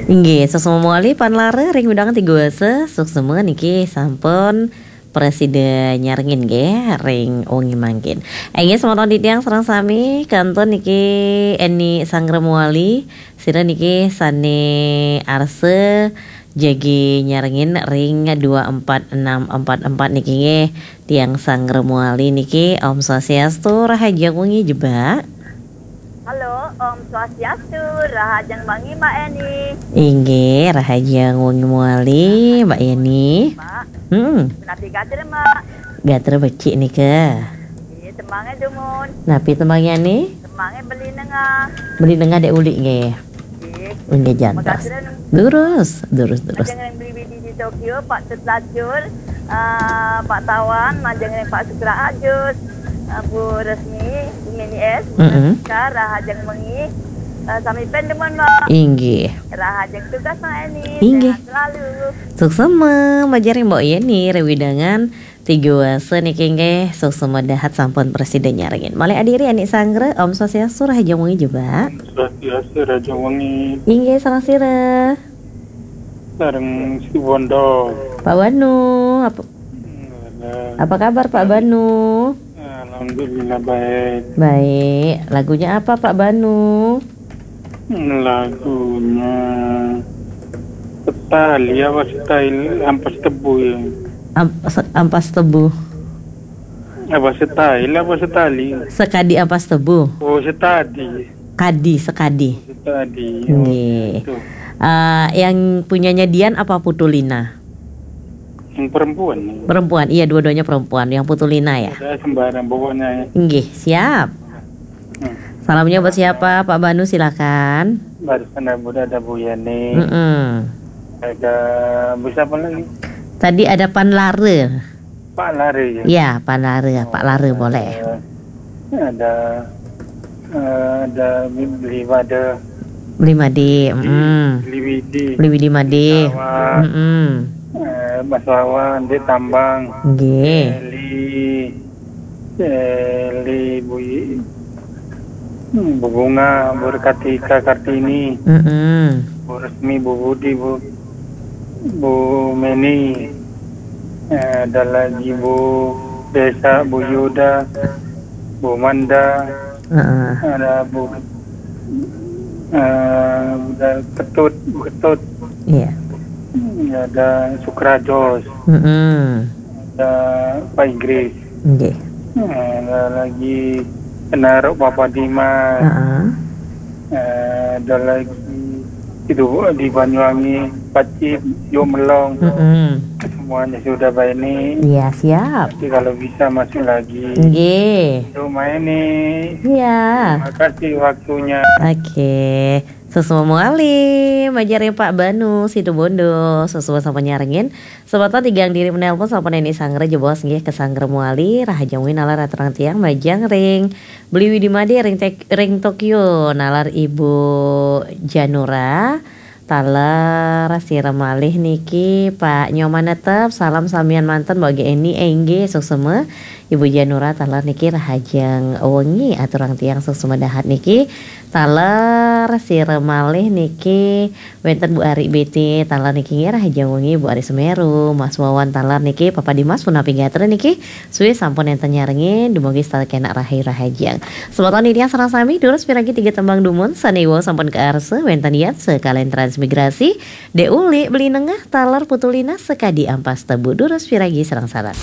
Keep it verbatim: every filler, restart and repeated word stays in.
Inggih, suksma malih Pak Lara ring wewidangan Tiga Wasa, suksma niki sampun prasida nyarengin nggih ring wengi mangkin. Inggih, semeton titiang sareng sami, kantun niki Eni Sanggra Mawali, sira niki sane arsa jagi nyarengin ring dua empat enam empat empat niki nggih, tiang Sanggra Mawali niki. Om Swastiastu, rahajeng wengi jebak. Halo, Om Swastiastu, rahajeng wengi, Mbak Eni. Inggih, rahajeng wengi mawali, Mbak Eni. Mbak, hmm, napi gatra, Mbak? Gatra becik nika. Nggih, tembange dumun. Napi tembange, Ni? Tembange Beli Nengah. Beli Nengah dek uli nggih. Nggih. Nggih, jantos. Makasih, Ren. Durus, durus, durus. Majeng ring Beli Widi di Tokyo, Pak Tut Lacur, eh, Pak Tawan, majeng ring Pak Sukra Ajus, eh, Bu Resmi, Bu Mini S, Bu, mm-mm, Rizka, rahajeng wengi, eh, sami pen dumun, Mbak. Inggih. Rahajeng tugas, Mbak Eni. Inggih. Sehat selalu. Suksma, majeng ring Mbok Yeni, ring wewidangan Tiga Wasa niki nggih, suksma dahat sampun prasida nyarengin. Malih adiri Anik Sanggra, Om Swastiastu, rahajeng wengi jebak. Swastiastu, rahajeng wengi. Inggih, sareng sira. Sareng Situ Bondo. Pak Banu, apa, halo, apa kabar Pak Banu? Alhamdulillah baik. Baik. Lagunya apa Pak Banu? Lagunya Setali apa Setali, Ampas Tebu ya? Am-, se-, Ampas Tebu. Apa Setali apa Setali? Sekadi Ampas Tebu. Oh, Setadi. Kadi, Sekadi. Setadi. Oh, nggih. Itu. Eh, yang punyanya Dian apa Putulina? Yang perempuan. Perempuan, iya, dua-duanya perempuan. Yang Putulina ya? Saya sembarang pokoknya. Nggih, siap. Hmm. Salamnya buat siapa, Pak Banu, silakan. Barusan ada Buda, ada Bu Yani. Mm-mm. Ada Bu siapa lagi? Tadi ada Pan Lara. Pak Lara ya? Ya, Pan Lara, Pak Lara boleh. Ada, eh, ada Beli Made. Beli Made, mm. Beli Widi. Beli Widi Made. Sawah. Mm-mm. Eh, Mas Wawan, Dek Tambang. Nggih. Eli, Eli, Bu, hmm, Bu Bunga, Bu Kartika Kartini. Mm-mm. Bu Resmi, Bu Budi, Bu, Bu Meni. Eh, ada lagi Bu Desa, Bu Yuda, Bu Manda. Heeh. Ada Bu, eh, ada Ketut, Bu Ketut. Iya. Hmm, ada Sukrajos. Mm-mm. Ada Pak Inggris. Nggih. Eh, ada lagi Penaruk Papa Dimas. Heeh. Eh, ada lagi itu di Banyuwangi, Pacit, Yo Melong. Mm-mm. Semuanya sudah, Mbak Eni. Iya, siap. Nanti kalau bisa masuk lagi. Nggih. Untuk Mbak Eni. Iya. Terima kasih waktunya. Oke. Suksma malih, majeng ring Pak Banu, Situbondo. Suksma sampun nyarengin. Semeton tigang diri menelpon sampun Eni Sanggra jebos nggih, ke Sanggra Mawali, rahajeng wengi nalar aturang tiang majeng ring Beli Widi Made ring Tek-, ring Tokyo, nalar Ibu Janura, taler sira malih niki Pak Nyoman Netep, salam samian manten Mbok Eni, eh, inggih, suksma. Ibu Janura taler niki rahajeng wengi aturang tiang suksma dahat niki. Taler sira malih niki wenten Bu Ari B T, taler niki nggih rahajeng wengi Bu Ari Semeru, Mas Wawan taler niki Papa Dimas punapi gatra niki. Suwi sampun enten nyarengin, dumugi setata kenak rahayu rahajeng. Semeton titiang sareng sami, durus piragi tiga tembang dumun, sane wau sampun kaarsa, wenten yatsa kalian transmigrasi, Dek Uli, Beli Nengah, taler Putulina, Sekadi Ampas Tebu, durus piragi sareng-sareng.